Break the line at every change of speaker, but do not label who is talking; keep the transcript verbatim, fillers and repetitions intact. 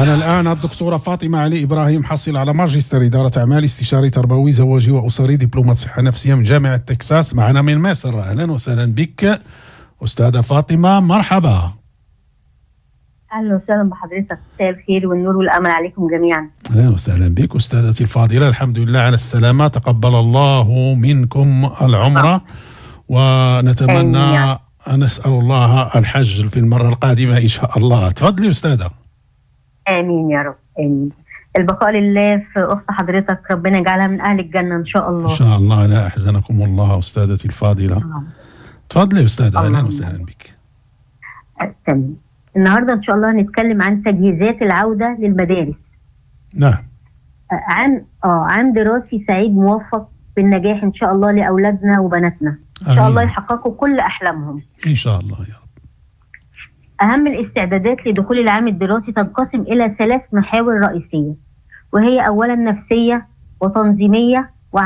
معنا الآن الدكتورة فاطمة علي إبراهيم، حاصلة على ماجستير إدارة أعمال، استشاري تربوي زواجي وأسري، دبلومة صحة نفسية من جامعة تكساس، معنا من مصر. أهلا وسهلا بك أستاذة فاطمة، مرحبا.
اهلا وسهلا بحضرتك، مساء الخير والنور والامل عليكم جميعا.
أهلا وسهلا بك أستاذتي الفاضلة، الحمد لله على السلامة، تقبل الله منكم العمرة، ونتمنى أن نسأل الله الحج في المرة القادمة إن شاء الله. تفضلي أستاذة.
امين يا رب، امين. البقاء لله في اخت حضرتك، ربنا يجعلها من اهل الجنة ان شاء الله.
إن شاء الله، لا أحزنكم الله أستاذتي الفاضلة. تفضلي أستاذة، أهلا وسهلا بك.
تمام. النهارده ان شاء الله هنتكلم عن تجهيزات العودة للمدارس.
نعم.
عام اه عام دراسي سعيد موفق بالنجاح ان شاء الله لاولادنا وبناتنا، ان شاء الله يحققوا كل احلامهم
ان شاء الله يا رب.
اهم الاستعدادات لدخول العام الدراسي تنقسم الى ثلاث محاور رئيسية، وهي اولا نفسية وتنظيميه